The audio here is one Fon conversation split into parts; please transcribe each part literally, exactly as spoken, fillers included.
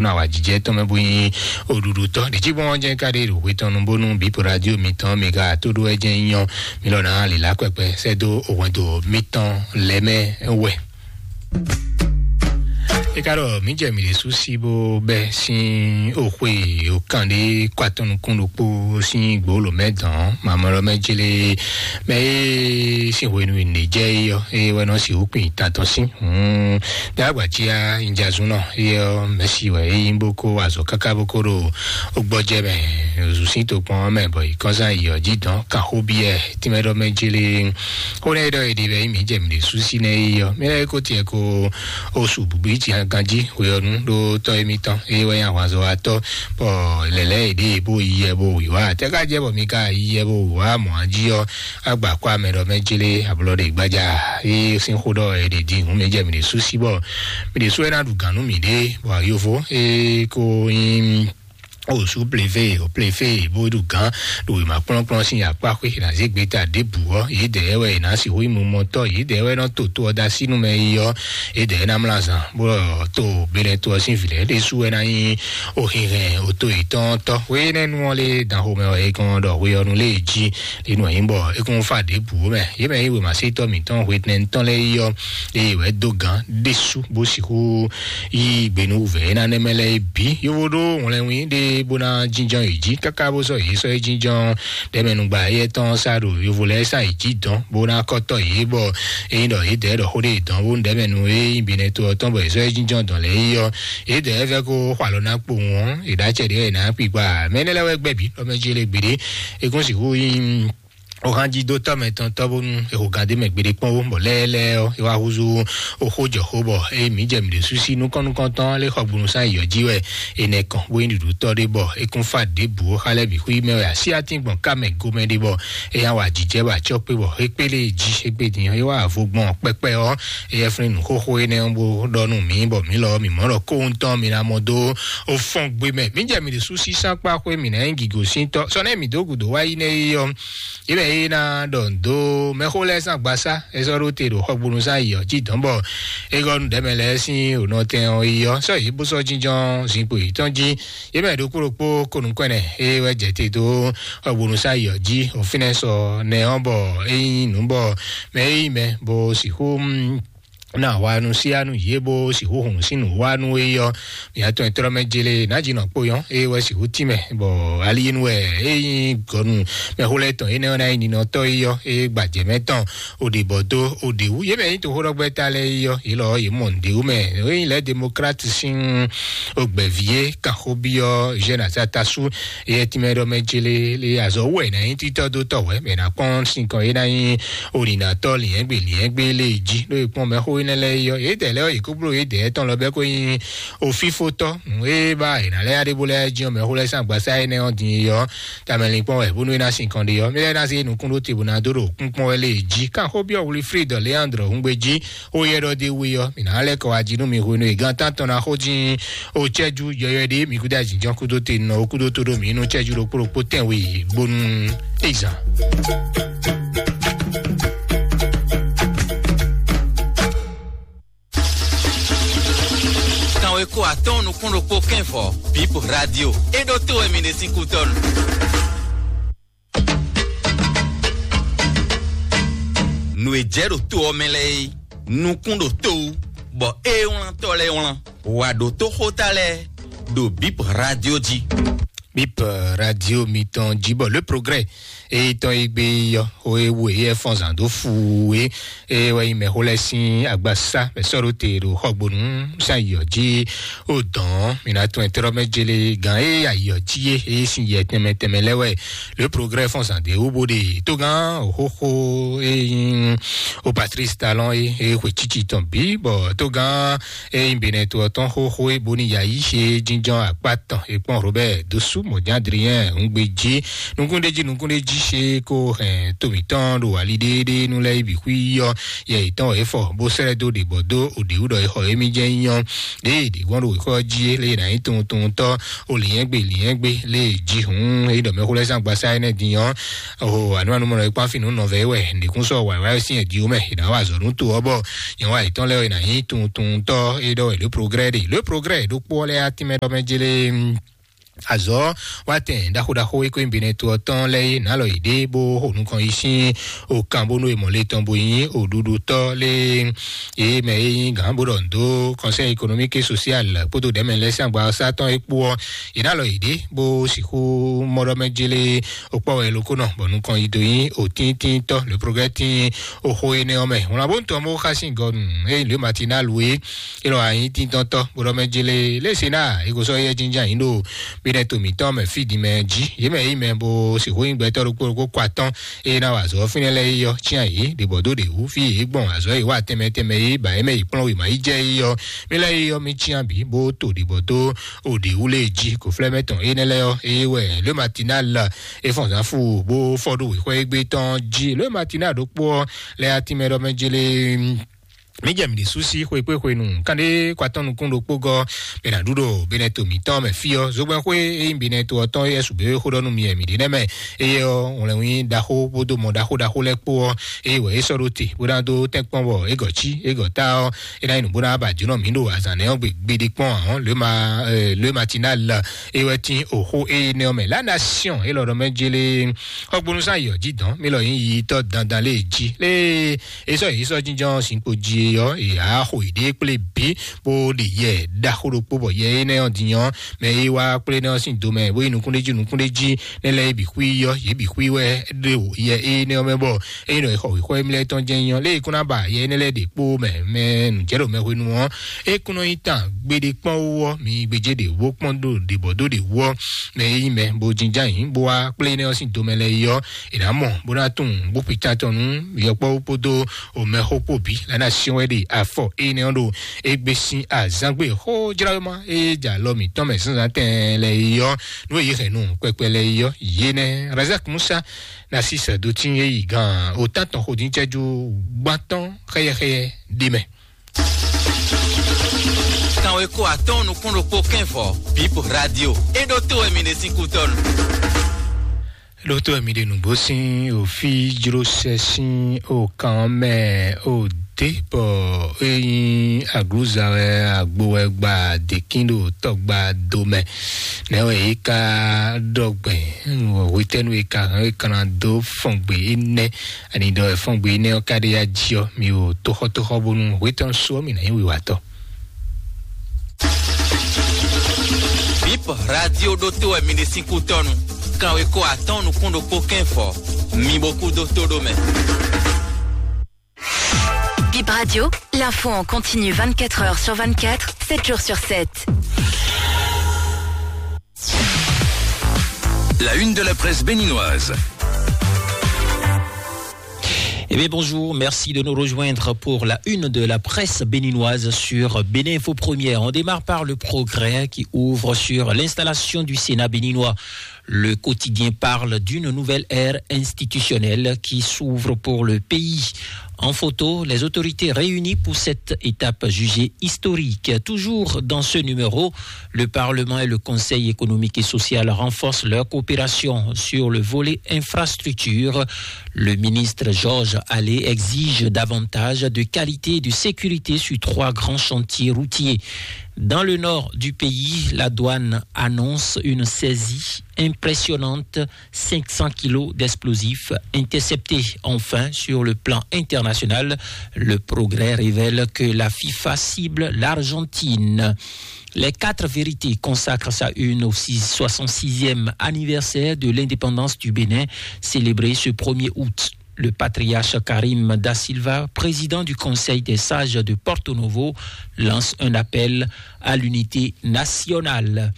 nɔ awǎjijɛ tɔn mɛ bó nyí oɖuɖu tɔn ɖě cí gbɔn jɛ ká ɖe ɖo hwe tɔn nu bónú bípo radio mitɔn mi ka tó ɖó ɛ jɛ nyɔ mi lɔ ná lila kpɛkpɛ sɛ́ dó òhwɛndo mitɔn lɛ́ mɛ wɛ. E ka ɖɔ mǐ jɛ mǐ ɖésú sí bó bɛ́ sín òxwe òkàn ɖé kɔ atɔn nukún ɖokpó sín gbǒ lǒ mɛ dɔn mamɔlɔ mɛ jélé mɛ e sín hwenu e nǐ jɛ é ɔ́, é wɛ nɔ sixú kpin tantɔn sín. Dá agbacia injazun nɔ, é ɔ́ mɛsi wɛ é yí bó kó azɔ káká bó kó ɖo ó gbɔjɛ mɛ, ozu sín tokpɔn mɛ bɔ yi kɔnzán yi ɔ́ jí dɔn kan xó biɛ tínmɛ ɖɔ mɛ jélé. Xó nɛ ɖɔ èɖè bɛ mǐ jɛ mǐ ɖe súsí nɛ é ɔ́, mɛ lɛ́ kó tiɛ kó osu bǔbú yi tiɛ ganjí hwe ɔ́ nú ɖó tɔ́ émítɔn é wɛ nyí ahwanzɔ wa tɔ́ bɔ lɛ̌lɛ́ èɖè bó yi yɛ bó wǐ wá tɛ́ ká jẹ́ bɔ mi ka yi yɛ bó wǐ wá mɔ̌ jí ɔ́, agba kó amɛ ɖɔ mɛ jélé ablɔ ɖe gbájá. É sín xó ɖɔ è ɖe din hǔn mɛ jɛ mǐ ɖe sú sí bɔ mǐ ɖe sú é ná ɖu gǎn nú mǐɖée bɔ yovo é kó nyí osu pleve o pleve bó ɖu gǎn ɖo wěma kplɔ́nkplɔ́n sín akpá xwé ná zé gbeta ɖěbǔ ɔ́, yědɛɛ wɛ è nǎ sixú nyí mumɔtɔ́, yědɛɛ wɛ nɔ to to ɔ́ dó así nú mɛ yi ɔ́, yědɛɛ ná mlá zan bó ɖɔ to benɛto ɔ́ sín vǐ lɛ́ɛ ɖésú wɛ ná nyí ohinhɛn oto yětɔn tɔ́. Hwe énɛ́ nu ɔ́ lé dan xomɛ wɛ é kɔn ɖɔ hwe ɔ́ nu lé jí. Inú ɛ̀yìn bɔ é kún fá ɖěbǔ mɛ. Yě mɛ yí wěmasétɔ́ mǐtɔn hwetɛnɛntɔn lɛ́ɛ yi ɔ́, eye wɛ dó gǎn ɖésú bó sixú yí gbe nú wǔvɛ́ é ná nɛ́ mɛ lɛ́ɛ bǐ. Yovo ɖó wlɛnwí ɖé bó ná jínjɔ́n yě jí káká bó sɔ́ yě sɔ́ é jínjɔ́n ɖɛmɛnugba éyɛ́ tɔn sá ɖo yovo lɛ́ɛ sá yě jí dɔn bó ná kɔ́tɔ́ yě bɔ ényí ɖɔ yě dɛ̌ ɖɔ xó ɖé yě dɔn bó ɖɛmɛnu é nyí binɛ to ɔ́ tɔn bɔ yě sɔ́ é jínjɔ́n dɔn lɛ́ɛ yi ɔ́, yě dɛ̌ fɛ́ kó xɔ alɔ ná kpowun ɔ́, yě ɖó acɛ ɖě wɛ yě ná kpikpa. Mɛ énɛ́ lɛ́ɛ wɛ gbɛ́ bǐ ɖɔ mɛ jí lé gbeɖé. É kún sixú nyí ohanjidótɔ́ mɛtɔn tɔ́ bónú è xo gǎn dó mɛ gbeɖé kpɔ́n ó, bɔ lɛ́ɛlɛ́ ɔ́, é wá húzú oxó jɔ xó bɔ ée mǐ jɛ mǐ ɖě sú sí nukɔn nukɔntɔn lé xɔgbónú sán yɔ jí wɛ è nɛ kɔn bó nyí ɖuɖutɔ́ ɖé bɔ é kún fá ɖěbǔ ó. Xá lɛ́ɛ bǐ xwí mɛ wɛ así atín gbɔn ká mɛ gomɛ ɖé bɔ é hán wa jǐjɛ bɔ acɔ́ kpé bɔ é kpélé jí é gbé din ɔ́, é wá vo gbɔn kpɛkpɛ ɔ́, é yɛ flín nǔ xóxó énɛ́ ɔ́ bó ɖɔ nú mǐ bɔ mǐ lɔ mǐ mɔ̌ ɖɔ kóhun tɔn mǐ ná mɔ dó ó fɔ́n gbé mɛ. Mǐ jɛ mǐ ɖě sú sí sán kpá xwé mǐ ná nyí gǐgosíntɔ́ sɔ́ nɛ́ mǐ dó gǔdo wá yi nɛ́ é ɔ́, yě mɛ é ná ɖɔ nǔ dó mɛxó lɛ́ɛ sín agbasá é sɔ́ ɖó te ɖo xɔgbónú sín ayǐ ɔ́ jí dɔ̌n bɔ é gɔ́ nú ɖɛ̌mɛ lɛ́ɛ sín ònɔtɛn ɔ́ yi ɔ́, sɔ́ yě bó sɔ́ jínjɔ́n zinkpo yětɔn jí. Yě mɛ ɖokpó ɖokpó ko nǔkɔn ɛnɛ é wɛ jɛ te dó xɔgbónú sín ayǐ ɔ́ jí, òfínɛ́ sɔ nɛ ɔ́ bɔ é nyí nǔ bɔ mɛ é nyí mɛ bó sixú ná wa nú sí anu yě bó sixú hun sín nǔ wa nú é ɔ́, mǐ atɔn e tlɔ́ mɛ jele nǎjínɔ kpó yɔ́n é wɛ sixú tínmɛ bɔ aliyenu wɛ é nyí gɔnu mɛxó lɛ́ɛ tɔn énɛ́ ɔ́ ná nyí ninɔtɔ́ é ɔ́ é gbajɛ mɛ tɔn òɖibɔ dó òɖiwú yě mɛ nyí toxóɖɔgbɛ́ta lɛ́ɛ é ɔ́ yě lɔ ɔ́ yě mɔ nǔɖé wú mɛ é nyí lɛ̌ demokrat sín ogbɛ̌ví é kanxóbyɔ́ jɛ́n asatasu é tínmɛ ɖɔ mɛ jele lé azɔ wú wɛ è nǎ nyí títɔ́ dó tɔ́ wɛ mɛ è nǎ kpɔ́n sinkɔn é ná nyí olinatɔ liɛngbe liɛngbe lé jí ló e kpɔn mɛxó énɛ́ lɛ́ɛ yɔ yédɛɛ lɛ́ɛ yě kó bló yédɛɛ tɔn lɔ bɛ́ kó nyí ofífótɔ́ nǔ e ba è nǎ lɛ́ yá ɖé bó lɛ́ jí ɔ́ mɛxó lɛ́ɛ sín agbasá énɛ́ ɔ́ din yɔ tamɛlin kpɔn wɛ bónú é ná sin kɔn ɖe ɔ́ mɛ lɛ́ɛ ná zé nukún ɖó te bó ná dó ɖo kúnkpɔ́n wɛ lé jí kan xó byɔ́ wlifrídɔ léandrɔ húngbé jí ó yɛ ɖɔ dé we ɔ́ mǐ ná lɛ́ kɔ wá jí nú mi hwenu e gán tántɔn ná xó dín ó cɛ́jú yɔyɔ́ ɖé mi kúdó ajínjɔ́n kúdó te nɔ ó kúdó tó ɖó mǐ nú cɛ́jú ɖokpó ɖokpó tɛ́nwe bónú é zán. Kanwe ko atɔn nukún ɖokpó kɛnfɔ bip radio é ɖó tó wɛ mi ɖe sín kútɔnu. Nǔ e jɛ ɖo to ɔ́ mɛ lɛ́ɛ é nukún ɖo to wú bɔ é wlán tɔ́ lɛ́ɛ wlán wǎ ɖó tó xóta lɛ́ɛ ɖo bip radio jí. Bip radio mitɔn jí bɔ le progrès e tɔn e gbé yɔ o e wo e yɛ fɔn zan dó fu e e wɛ yi mɛ xó lɛ sín agbasa mɛ sɔ́ ɖó te ɖo xɔgbónu sán yɔ jí o dɔn mi ná tún ẹ tɔrɔ mɛ jele gan e ayɔ jí e e sin yɛ tɛmɛ tɛmɛ lɛ wɛ le progrès fɔn zan dé wo bo de tó gan o xóxó e yin o Patrice Talon e e xwe títí tɔn bí bɔ tó gan e yin benɛ to ɔtɔn xóxó e boni yayi e jínjɔn akpá tɔn e kpɔn Robert dosu Mɔ̌ján Adrien Hungbejí, nukúnɖéjí nukúnɖéjí ṣe kó hɛn to mǐtɔn ɖo ali ɖééɖéé nú lɛ́ɛ yi bǐ xwí yɔ yɛ yětɔn wɛ é fɔ bó sɛ́ lɛ́ dó ɖě bɔ dó òɖě wú ɖɔ é xɔ émí jɛ nyɔ ɖěe ɖě gbɔn ɖo wěxɔ jí é lě ná nyí tuntunutɔ́ o lǐnyɛ́gbe lǐnyɛ́gbe lě jí hǔn é ɖɔ mɛxó lɛ́ɛ sín agbasá énɛ́ din ɔ́ o ànúmanúmɔnɔ é kpán fínú nɔvɛ é wɛ nǐkún sɔ wǎwá sín ɛ̀dí ó mɛ è nǎ wa azɔ̌ nú to ɔ́ bɔ nyɛ wá yětɔn lɛ́ɛ é ná nyí tuntunutɔ́ é ɖɔ wɛ lě progrès ɖe lě progrès ɖokpó ɔ́ lɛ́ɛ atínmɛ ɖɔ mɛ jélé azɔ̌ wá tɛn ɖaxó ɖaxó e kó nyi Benɛto ɔ́ tɔn lɛ́ɛ é nǎ lɔ yě ɖé bó xo nukɔn yi sín okan bónú e mɔ le tɔn bo nyí oɖuɖutɔ́ lé é mɛ e nyí gǎn bó ɖɔ nǔ dó Conseil économique et social kpódó ɖɛ̌mɛ lɛ́ɛ sín agbawɔsá tɔn é kpó ɔ́, yě nǎ lɔ yě ɖé bó sixú mɔ ɖɔ mɛ jélé okpɔ́ wɛ lokónɔ bɔ nukɔn yi dó nyí òtíntíntɔ́ le progrès tín oxó énɛ́ ɔ́ mɛ. Wlán bó ń tɔn bó xá sín gɔnu eye lě Matinal é é lɔ anyí tíntɔ́ntɔ́ bó ɖɔ mɛ jélé lé Sénat é ko sɔ́ yɛ jínján yín ɖo Benɛto mǐtɔn mɛ fí din mɛ jí yě mɛ yí mɛ bó sixú nyí gbɛtɔ́ ɖokpó ɖokpó kɔ atɔ́n eye ná wa azɔ̌ fínɛ́ lɛ́ɛ yi ɔ́ cyán yě ɖě bɔ dó ɖě wú fí yě gbɔn azɔ̌ yě wa tɛnmɛ tɛnmɛ yí ba yě mɛ yi kplɔ́n wěma yi jɛ yi ɔ́ mí lɛ́ɛ yi ɔ́ mí cyán bǐ bó to ɖě bɔ dó o ɖě wú lé jí kò flɛ́ mɛ tɔn énɛ́ lɛ́ɛ ɔ́ eye wɛ Le Matinal é fɔn zǎn fú bó fɔ ɖó wěxɔ égbé tɔn jí Le Matinal ɖokpó ɔ́ lɛ́ɛ atínmɛ ɖɔ mɛ jélé mí jɛ mǐ ɖésú sí xwekpéxwenu kánɖé kɔ atɔ́ nukún ɖokpó gɔ́ bɛ ná ɖu ɖo Benɛto mǐtɔn mɛ fí ɔ́ zogbɛ́n xwé e nyí Benɛto ɔ́ tɔn é su běwé xó ɖɔ nú mi wɛ mǐ ɖe nɛ́ mɛ eye ɔ́ wlɛnwí ɖaxó kpódó mɔ ɖaxó ɖaxó lɛ́ɛ kpó ɔ́ eye wɛ é sɔ́ ɖó te bó ná dó tɛ́nkpɔ́n bɔ é gɔ̌ cí é gɔ̌ ta ɔ́ é ná nyí nǔ bó ná ba jǒnɔ mǐ ɖo azǎn nɛ́ ɔ́ gbe gbeɖé kpɔ́n ǎ Le Ma Le Matinal é wɛ tín oxó énɛ́ ɔ́ mɛ La Nation é lɔ ɖɔ mɛ jélé xɔgbónúsán yɔ jí dɔn mí lɔ nyí yitɔ́ dandan lé jí lé é sɔ́ yě sɔ́ jínjɔ́n sínkpo jí é ɔ́ é á xo yěɖée kplé bǐ bó ɖe yɛ ɖaxó ɖokpó bɔ yɛ énɛ́ ɔ́ din ɔ́ mɛ e wá kplé nɛ́ ɔ́ sín domɛ bó yi nukúnɖéjí nukúnɖéjí nɛ́ lɛ́ɛ bǐ xwí ɔ́ yě bǐ xwí wɛ ɖo yɛ énɛ́ ɔ́ mɛ bɔ ényí nɔ è xɔ wěxɔ émí lɛ́ɛ tɔn jɛ́n nyí ɔ́ lé e kún ná ba yɛ énɛ́ lɛ́ɛ ɖě kpó mɛ mɛ nǔjɛɖomɛhwenu ɔ́ é kún nɔ nyí tán gbeɖé kpɔ́n wú ɔ́ mi gbéjé ɖě wó kpɔ́n ɖo ɖě bɔ dó ɖě wú ɔ́ mɛ e nyí mɛ bó jínján yǐ bó wá kplé énɛ́ ɔ́ sín domɛ lɛ́ɛ yi ɔ́ è nǎ mɔ bó ná tunwun bó kpi tán tɔn nú yɔkpɔ́wú kpódó omɛxó kpó bǐ la ná syɔ́n wɛ ɖe afɔ énɛ́ ɔ́ ɖo égbé sín azǎngbe xójláwéma e jɛ alɔ mǐtɔn mɛ zǎnzǎn tɛɛn lɛ́ɛ yi ɔ́ nú e yě hɛn nú kpɛkpɛ lɛ́ɛ yi ɔ́ yě nɛ́ Razak Musa Narcisse Dotin e yi gan otán tɔn xodíncɛ́jú gbán tɔn xɛyɛxɛyɛ ɖ'é mɛ. Kanweko atɔ́ɔ́n nukún ɖokpó kɛ́nvɔ Bip Radio é ɖótó wɛ mi ɖe sín kútɔ́nu. Ɖótó wɛ mi ɖe nǔgbó sín òfí jló sɛ sín òkan mɛ òdé bɔ é nyí aglúza wɛ agbo wɛ gba dèkín ɖo tɔgba do mɛ. Nɛ̌ wɛ é ka ɖɔ gbɛn? Hwetɛ́nu é ka hɛn é ka ná dó fɔn gbe énɛ́? Ani ɖɔ ɛfɔ́ngbe énɛ́ ɔ́ ka ɖe ya jí ɔ́, mi ɖo tóxɔ́tóxɔ́ bónú hwetɔ́n sú ɔ́ mi ná nyí wiwatɔ́. Bip Radio ɖótó wɛ mi ɖe sín kútɔ́nu. Kanweko atɔ́ɔ́n nukún ɖokpó kɛ́nvɔ. Mi bo kú dó tó ɖó mɛ. Bip Radio, l'info en continu vingt-quatre heures sur vingt-quatre, sept jours sur sept. La une de la presse béninoise. Eh bien, bonjour, merci de nous rejoindre pour la une de la presse béninoise sur Bénin Info Première. On démarre par le Progrès qui ouvre sur l'installation du Sénat béninois. Le quotidien parle d'une nouvelle ère institutionnelle qui s'ouvre pour le pays. En photo, les autorités réunies pour cette étape jugée historique. Toujours dans ce numéro, le Parlement et le Conseil économique et social renforcent leur coopération sur le volet infrastructure. Le ministre Georges Allais exige davantage de qualité et de sécurité sur trois grands chantiers routiers. Dans le nord du pays, la douane annonce une saisie impressionnante, cinq cents kilos d'explosifs interceptés. Enfin, sur le plan international, le Progrès révèle que la FIFA cible l'Argentine. Les quatre vérités consacrent sa une au six- soixante-sixième anniversaire de l'indépendance du Bénin, célébré ce premier août. Le patriarche Karim Da Silva, président du Conseil des sages de Porto Novo, lance un appel à l'unité nationale.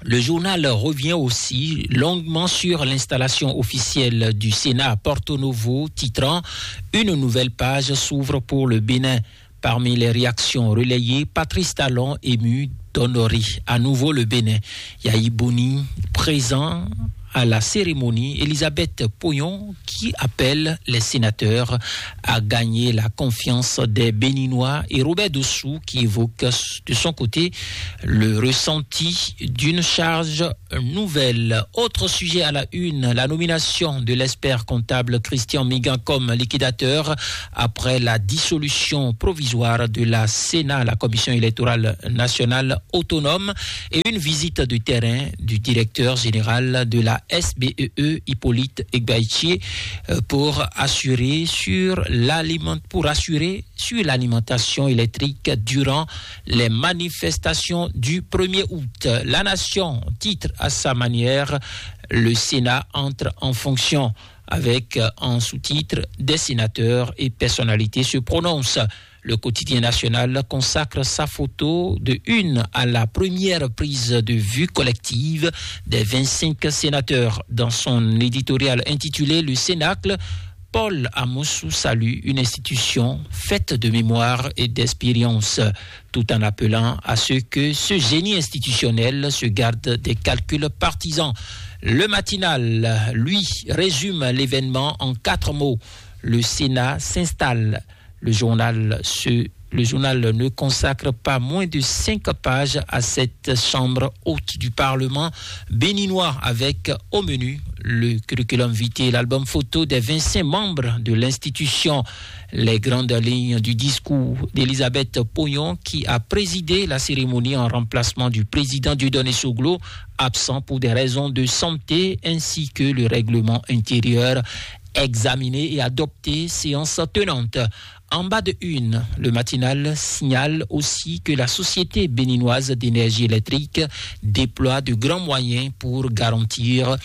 Le journal revient aussi longuement sur l'installation officielle du Sénat à Porto Novo, titrant : « Une nouvelle page s'ouvre pour le Bénin ». Parmi les réactions relayées, Patrice Talon, ému Dondori. À nouveau le Bénin. Yayi Boni, présent à la cérémonie, Elisabeth Poyon, qui appelle les sénateurs à gagner la confiance des Béninois, et Robert Dossou, qui évoque de son côté le ressenti d'une charge nouvelle. Autre sujet à la une, la nomination de l'expert comptable Christian Migan comme liquidateur après la dissolution provisoire de la Sénat, la Commission électorale nationale autonome, et une visite de terrain du directeur général de la S B E E, Hippolyte Egbaïtier, euh, pour assurer sur l'aliment-, pour assurer sur l'alimentation électrique durant les manifestations du premier août. La Nation titre à sa manière: Le Sénat entre en fonction, avec, euh, en sous-titre: Des sénateurs et personnalités se prononcent. Le quotidien national consacre sa photo de une à la première prise de vue collective des vingt-cinq sénateurs. Dans son éditorial intitulé Le Cénacle, Paul Amoussou salue une institution faite de mémoire et d'expérience, tout en appelant à ce que ce génie institutionnel se garde des calculs partisans. Le Matinal, lui, résume l'événement en quatre mots: Le Sénat s'installe. Le journal se, le journal ne consacre pas moins de cinq pages à cette chambre haute du Parlement béninois, avec au menu le curriculum vitae, l'album photo des vingt-cinq membres de l'institution, les grandes lignes du discours d'Elisabeth Poyon, qui a présidé la cérémonie en remplacement du président Dieudonné Soglo, absent pour des raisons de santé, ainsi que le règlement intérieur examiné et adopté séance tenante. En bas de une, le Matinal signale aussi que la Société béninoise d'énergie électrique déploie de grands moyens pour garantir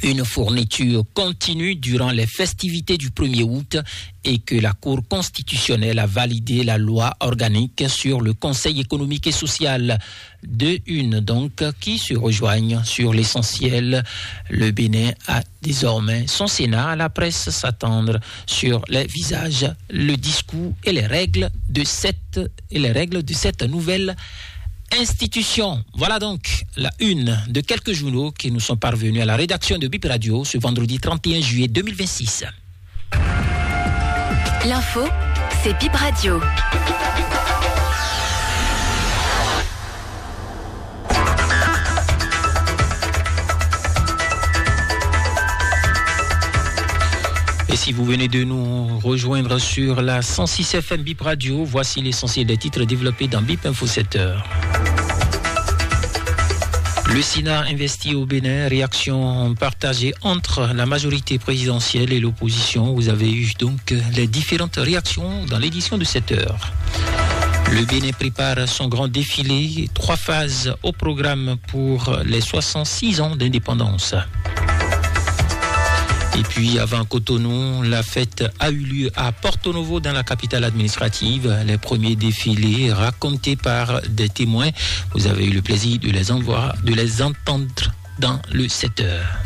une fourniture continue durant les festivités du premier août et que la Cour constitutionnelle a validé la loi organique sur le Conseil économique et social. De une, donc, qui se rejoignent sur l'essentiel. Le Bénin a désormais son Sénat. La presse s'attendre sur les visages, le discours et les règles de cette, et les règles de cette nouvelle institution. Voilà donc la une de quelques journaux qui nous sont parvenus à la rédaction de Bip Radio ce vendredi trente et un juillet deux mille vingt-six. L'info, c'est Bip Radio. Et si vous venez de nous rejoindre sur la cent six F M Bip Radio, voici l'essentiel des titres développés dans Bip Info sept heures. Le Sénat investit au Bénin, réaction partagée entre la majorité présidentielle et l'opposition. Vous avez eu donc les différentes réactions dans l'édition de cette heure. Le Bénin prépare son grand défilé, trois phases au programme pour les soixante-six ans d'indépendance. Et puis, avant Cotonou, la fête a eu lieu à Porto Novo, dans la capitale administrative. Les premiers défilés racontés par des témoins. Vous avez eu le plaisir de les envoir-, de les entendre dans le sept heures.